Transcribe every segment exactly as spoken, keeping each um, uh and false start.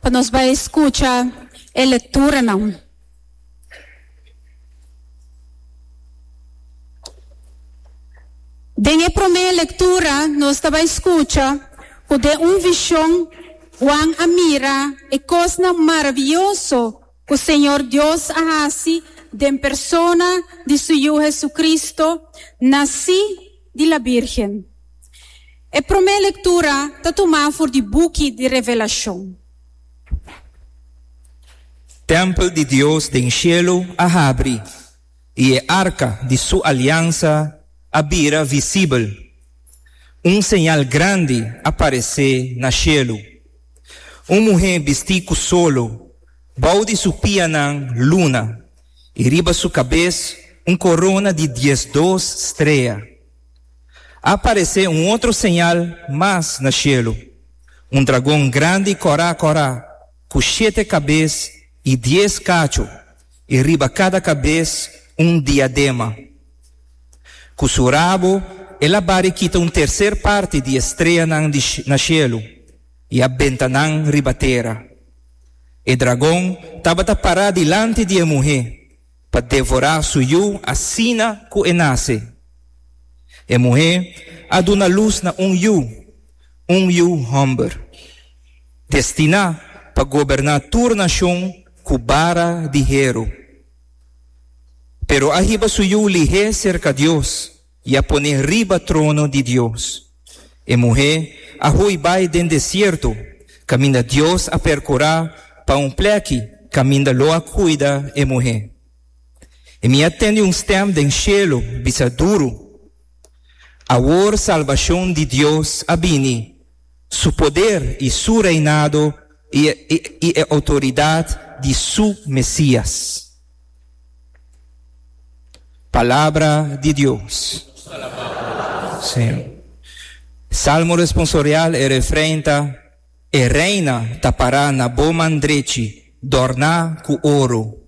Pa nos bai skucha e lekturanan. Den e promé lektura nos ta bai skucha ku den un vishon Juan a mira e kosnan maravioso ku Señor Dios a hasi den persona di su Yu Hesukristo, nasí di la Bírgen. E promé lektura ta tumá for di buki di Revelashon. Tèmpel di Dios den shelu a habri, i e arka di su aliansa a bira visibel. Un señal grandi a paresé na shelu, un muhé bistí ku solo, bou di su pianan luna, i riba su kabes un korona di diesdos strea. A paresé un otro señal mas na shelu, un dragon grandi kòrá kòrá, ku shete kabes i dies kachu, i riba kada kabes un diadema. Ku su rabo el a bari kita un terser parti di e streanan di na shelu i a benta nan riba tera. E dragon tabata pará dilanti di e muhé pa devorá su yu asina ku e nase. E muhé a duna lus na un yu, un yu hòmber, destiná pa goberná tur nashon ku bara di heru. Pero a hiba su yu lihé serka Dios i a pon'é riba trono di Dios. E muhé a hui bai den desierto, kaminda Dios a perkurá pa un plèki kaminda lo a kuida e muhé. I mi a tende un stèm den shelu bisa duru, Awor salbashon di Dios a bini, su poder i su reinado i e outoridat di su Mesias. Palabra di Dios. Salmo responsorial E refrein ta, E reina ta pará na bo man drechi, dòrná ku oro.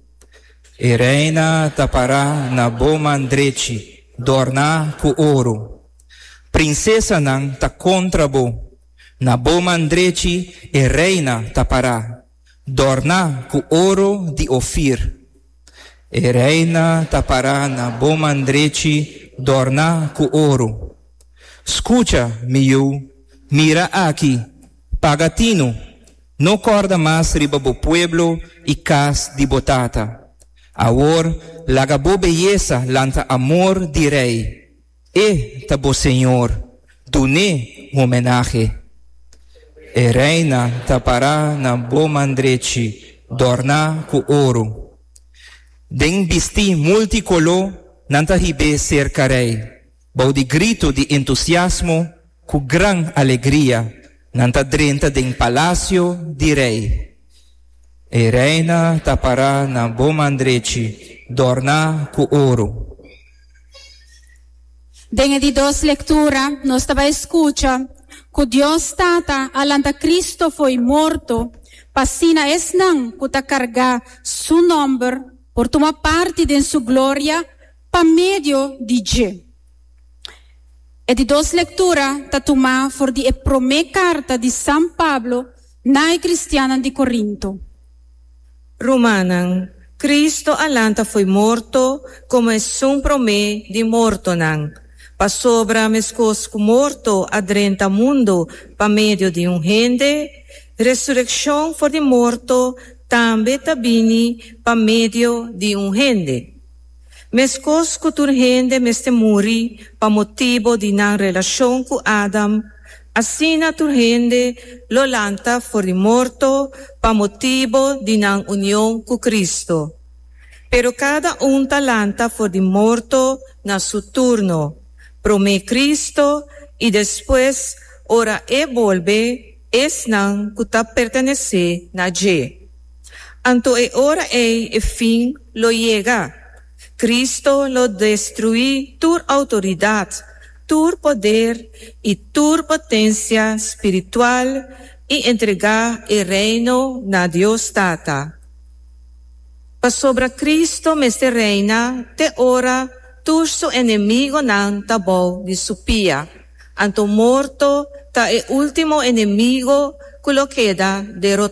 E reina ta pará na bo man drechi, dòrná ku oro. Prinsesanan ta kontra bo, na bo man drechi e reina ta pará, dòrná ku oro di Ofir. E reina ta pará na bo man drechi, dòrná ku oro. Skucha, mi yu, mira aki, paga tinu, no kòrda mas riba bo pueblo i kas di bo tata. Awor, laga bo beyesa lanta amor di rei. E ta bo señor, dun'é homenahe. E reina ta pará na bo man drechi, dòrná ku oro. Den bistí multikoló nan ta hib'é serka rei. Bou di gritu di entusiasmo ku gran alegria nan ta drenta den palasio di rei. E reina ta pará na bo man drechi, dòrná ku oro. Den e di dos lektura nos ta bai skucha ku Dios Tata a lanta Cristo fo'i morto pa asina esnan ku ta kargá Su nòmber por tuma parti den Su gloria pa medio di dje. E di dos lektura ta tumá for di e promé karta di San Pablo na e kristiannan di Korinto. Rumannan, Cristo a lanta fo'i morto komo esun promé di mortonan, pasobra meskos ku morto a drenta mundu pa medio di un hende, resurekshon for di morto tambe ta bini pa medio di un hende. Meskos ku tur hende mester muri pa motibu di nan relashon ku Adam, asina tur hende lo lanta for di morto pa motibu di nan union ku Cristo. Pero kada un ta lanta for di morto na su turno, promé Cristo i despues, ora e bolbe, esnan ku ta pertenesé na dje. Anto e ora ei e fin lo yega. Cristo lo destruí tur outoridat, tur poder i tur potensia spiritual i entregá e Reino na Dios Tata. Pasobra Cristo mester reina te ora tur su enemigonan ta bou di su pia. Anto morto ta e último enemigo ku lo keda derotá.